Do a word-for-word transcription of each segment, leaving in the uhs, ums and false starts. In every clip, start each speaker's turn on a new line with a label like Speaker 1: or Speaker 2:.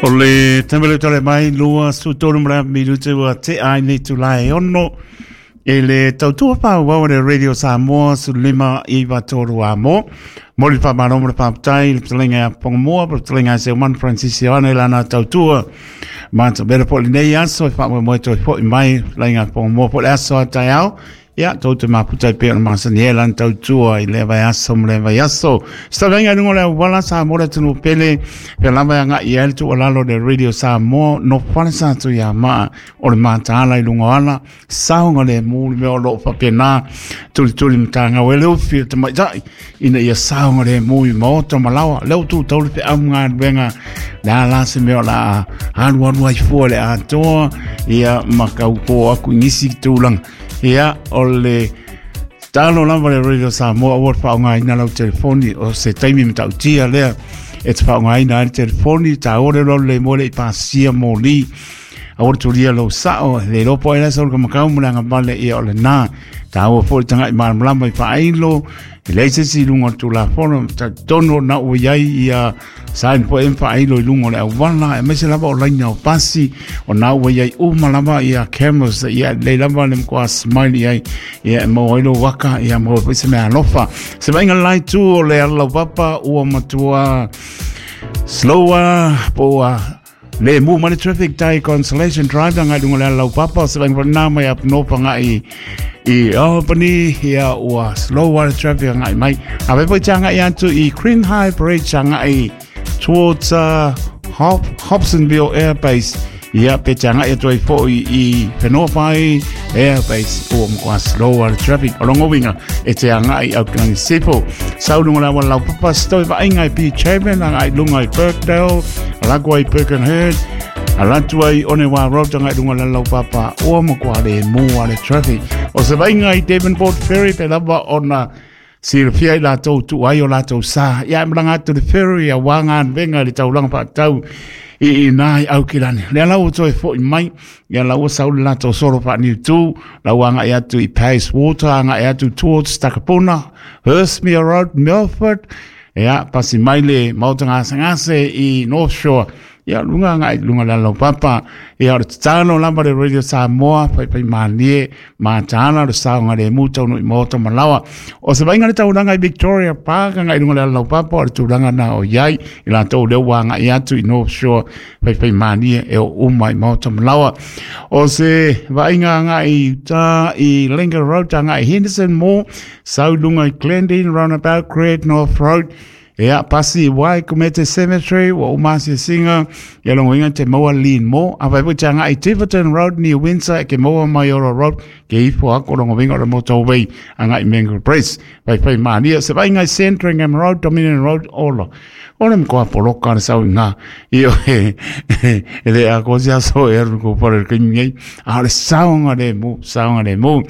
Speaker 1: O le taimi tale mai lua su tolu mra minutu ua te ai nei tu lai ono e le tautua pā wau le Radio Samoa su lima iwa tolu a mo. Moli pa maro mo le pāptai le ptalenga a Pongamoa, le ptalenga se man Francis Ioane lana tautua. Mata bera po le nei aso e wha moe toi po i mai lenga Pongamoa po le aso a tai au. Ia, tau te maputa i pēr masani e lan tautua i le vai aso mo le vai aso. Stavenga nungo le wala sa mora tunu pele, pe lava anga i el tu alalo le Radio Samoa, no whale sa tu ia maa o le mātāla i lunga ala, saonga le mūli mea o loo whapena, tuli tuli matanga wele ufi o te maitai, ina ia saonga le mū i maota malawa, leo tu tauli pe au ngā wenga, le ala se mea o la alu alu ai fua le atoa, ia makau ko aku ngisi tūlanga. Ia, o le talo lava le Radio Samoa ua whaongaina lau telefoni o se taimi matautia lea e te whaongaina ai le telefoni ta ore lo le mo le i pasia mo li a ore turia lo sao le lopo ai lasa o le kamakau mo le angavale ia o le nā ta ua fo le tanga i malamalama i whaailo e lei se si lunga o le tulafono ta tono na ua iai ia sain po em whaailo i lunga o le awala e maise lava o laina o pasi o na ua iai uma lava ia cameras ia lei lava le mkoa smile iai ia e mau ailo waka ia mau po se mea alofa se vainga lai tu o le ala papa ua matua slower po le mu mani traffic tai Consolation Drive ngai lunga le ala papa se vainga na mai up no panga i i Albany ia ua slow water traffic ngai mai a ve po changa i atu i Green High Bridge ngai towards uh, Hop, Hobsonville Air Base ia pe changa i atu ai fo i, i Whenua Air Base o mkoa slow water traffic o longo winga e te anga i Auckland Sipo sau lunga la wala papa stoi va inga i P Chairman anga i lunga i Birkdale alagua i Birkenhead alatu ai Onewa Road anga i lunga la lau papa o mkoa le mua le traffic o se vainga i Devonport Ferry pe lava ona silafia i latou tu ai o latou sa ia e malaga atu le ferry a uaga venga le taulaga faatau i i nā i Aukilani lea lau ua toe fo'i mai ia lau ua sau le latou solo faaniutū lau aga'i atu i Water aga'i atu towards Takapuna Hurstmere Road Milford ia pasi mai le maota gasegase i North Shore ia lunga ngai lunga la lau papa ia o le tatalo lava le Radio Samoa pai mālie mātāla le saoga le mu taunu i maota malawa o se vainga le taulaga i Victoria Park ngai lunga le lau papa o le tulaga na o iai i latou lea ua agai atu i North Shore pai mālie e o uma i maota malawa o se vainga ngai uta i Lincoln Road ngai Henderson Mall sau lunga i Glendene Roundabout Great North Road ia pasi wai kumete cemetery wa umasi singa ia longo inga te maua lean mo a vai po tanga i Tiverton Road near Windsor ke maua Maiora Road ke ifo ako longo inga le motorway anga i Mango Press vai vai mania se vai ngai Sandringham Road Dominion Road olo ole mkoa poloka le sau ngā io e e le a ko sia so e ru ko pare ke ngai a le saunga le mu saunga le mu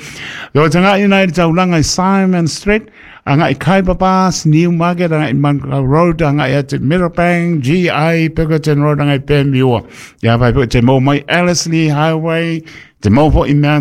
Speaker 1: yo tanga i nei taulanga i Simon Street anga i Kaipapas, Newmarket, anga i Manukau Road, anga i atu Meadowbank, G I, Pinkerton Road, anga i Pemua. Ia vai po te mau mai Ellerslie Highway, te mau po i Mount